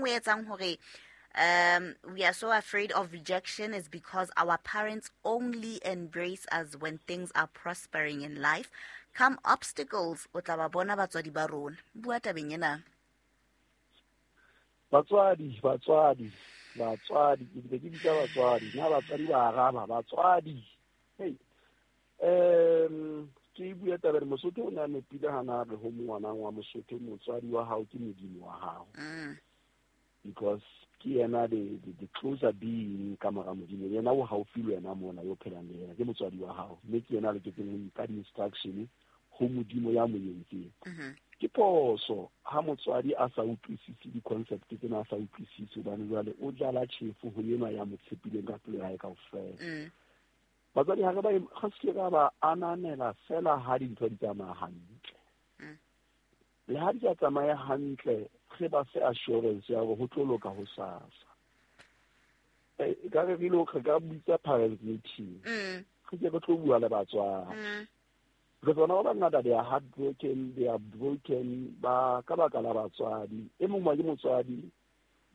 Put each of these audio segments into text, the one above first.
nngwe e etsang hore we are so afraid of rejection is because our parents only embrace us when things are prospering in life. Come obstacles, o tla ba bona batswadi ba rona. Bua tabeng ena. Batswadi, batswadi, batswadi, ke bile ke bitsa batswadi. Na batswadi ba araba, batswadi. Hey. Ke bua tabeng Mosotho o ne a nepile hana re ho ngwana wa Mosotho, motswadi wa hao ke modimo wa hao. Because ke yena the closer being ka mora modimo, yena o haufi le wena mona yo phelang le yena, ke motswadi wa hao, mme ke yena a loketseng ho nka di-instruction ho modimo ya mo entseng. Ke phoso ha motswadi a sa utlwisise di-concept tsena, a sa utlwisise, hobane jwale o jala tjhefo ho enwa ya mo tshepileng ka pelo ya hae kaofela. Batswadi ha re ba ga se ra ba ananela fela ha dintho di tsamaya hantle. Le ha di sa tsamaye hantle, re ba fe assurance ya hore ho tlo loka hosasa. Ka re re lo re ka bitsa parents meeting. Re ke re tlo bua le batswadi. Re tsona ba bangata, they are heartbroken, they are broken ba ka baka la batswadi. E mong wa ke motswadi,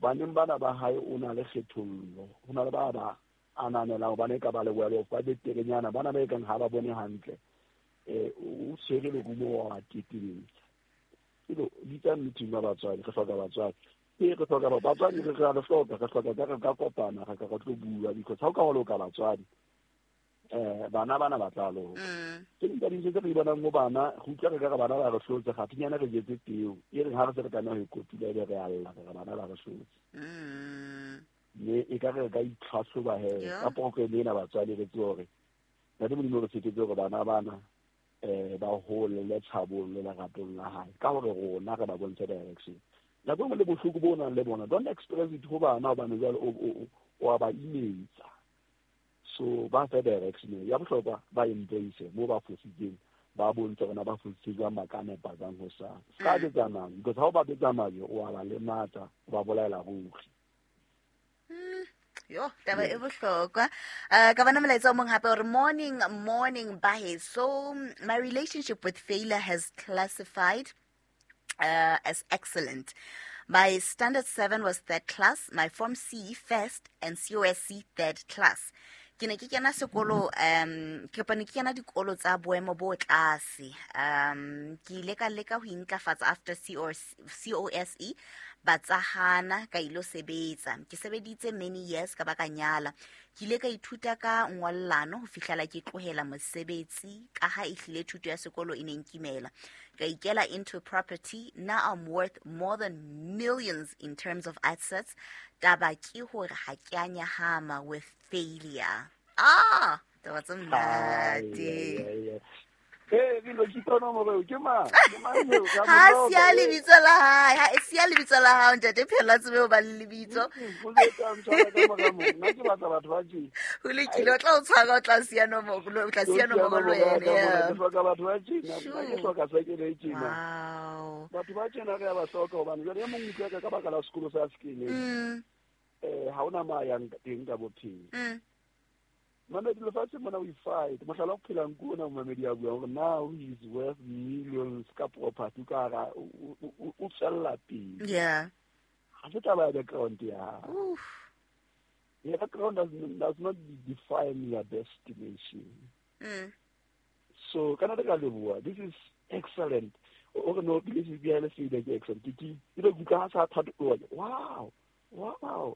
baneng bana ba hae o na le kgethollo, ho na le ba ba ananelang hobane e ka ba le well off, ba beterenyana, bana ba e kang ha ba bone hantle. O tshwere lerumo wa teteletsa. Elo, bitsa meeting ya batswadi, re hloka batswadi. Ee, re hloka batswadi, re re hloka, re hloka ka re ka kopana, re ka re tlo bua, because ha o ka wa loka batswadi, bana bana ba tla loka. Ke ding tsa dintho tse re di bonang ho bana, re utlwa re ka re bana ba re hlotse, kgathinyana re jetse peo. E reng ha re se re tlameha ho e kotula, ebe re a lla, re re bana ba re hlotse. Mme e ka re ka itlhahloba he, ka program ena batswadi re tsebe hore Ntate Modimo re tshepetse hore bana bana ba hole le tshabong le leratong la hae, ka hore rona re ba bontshe direction. Nako e nngwe le bohloko bo nang le bona, don't express it ho bana, hobane jwale o a ba imetsa. So ba fe direction ya bohlokwa, ba embrace mo ba fositseng, ba bontshe hore na ba fositse jwang, ba ka nepa jwang ho sa. Se ka betsa majwe, because ha o ba betsa majwe, o a ba lematsa, o ba bolaela ruri. Yo, taba e bohlokwa. Ka bona molaetsa o mong hape hore morning, morning, bahe. So my relationship with failure has classified as excellent. My standard 7 was third class, my form C first and COSC third class. Ke ne ke kena sekolo, ke ne ke kena dikolo tsa boemo bo tlase. Ke ile ka leka ho intlafatsa after COSE, ba tsa hana, ka ilo sebetsa. Ke sebeditse many years ka ba ka nyala. Ke ile ka ithuta ka ngollano ho fihlela ke tlohela mosebetsi ka ha ehlile thuto ya sekolo e ne nkimela. Ka ikela into property. Now I'm worth more than millions in terms of assets. Taba ke hore ha ke a nyahama with failure. Taba tse monate. Ee, ke lo ke tona moreo, ke mang? Ke mang eo? Ka Ha motho siya o lebitso la hae, ha e siya lebitso la hao, ntate Phelo, a tsebe ho ba le lebitso. Ho le tsa ntshwara ka mora moo. Nna ke batla batho ba tje. Ho lokile, o tla o tshwara, o tla siya nomoro, o tla siya O tla nomoro le nomoro ya wena, ka mona. ya. Ke hloka batho ba tjena, nna ke Sure. hloka sekele e tjena. Wow. Batho ba tjena re a ba hloka hobane jwale e mong utlwa ka baka la sekolo sa se keneng. Ha hona ma yang teng ka bophelo. Mamedi, lefatshe mona we fight. Mohlala o phelang ke ona momamedi ya buang hore now he is worth millions ka property, ka hara, o tswella pele. Ha se taba ya background ya hao. Oof. Your background does not define your destination. So, kana re ka leboha. This is excellent. O re no, this is behind the scene, ke excellent. Ke, ke, ke le kutlwa ha sa thato, o re, wow, wow.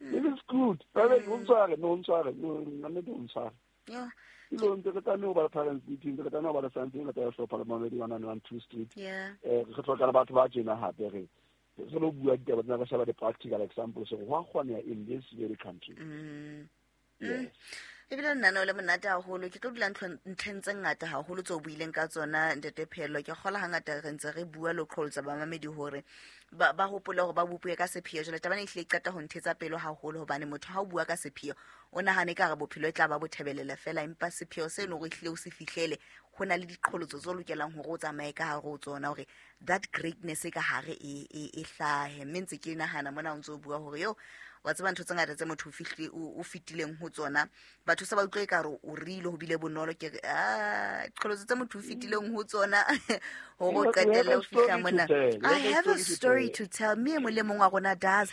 This is good. Ba be, o ntshware, no, o ntshware, no, nna nnete o ntshware. Ke lo ntse re tlameha ho ba le parents meeting, re tlameha ho ba le something, re tla hlopha le mamedi wa 912 Street. Re hloka le batho ba tjena hape, re lo bua ditaba tsena, re sheba di-practical examples hore ho a kgoneha in this very country. Yes. Ebile nna no le monate haholo, ke tlo dula ntlheng tse ngata haholo tseo o buileng ka tsona, Ntate Phelo. Ke kgola hangata re ntse re bua le ho qholotsa bamamedi hore ba hopole hore ba bopuwe ka sepheo. Jwale taba ena ehlile e qeta ho nthetsa pelo haholo, hobane motho ha o bua ka sepheo o nahane ka re bophelo e tla ba bo thebelele fela, empa sepheo se leng hore ehlile o se fihlele, ho na le diqholotso tse o lokelang hore o tsamaye ka hare ho tsona hore that greatness e ka hare e hlahe. Mme ntse ke nahana mona o ntse o bua hore yo, wa tseba ntho tse ngata tse motho o fetileng ho tsona, batho se ba utlwe ekare o rile ho bile bonolo. Ke re, qholotso tse motho o fetileng ho tsona, hore o You have qetelle a ho fihla story to mona. tell. You I have a have a story to story tell. to tell. Mme e mong le mong wa rona does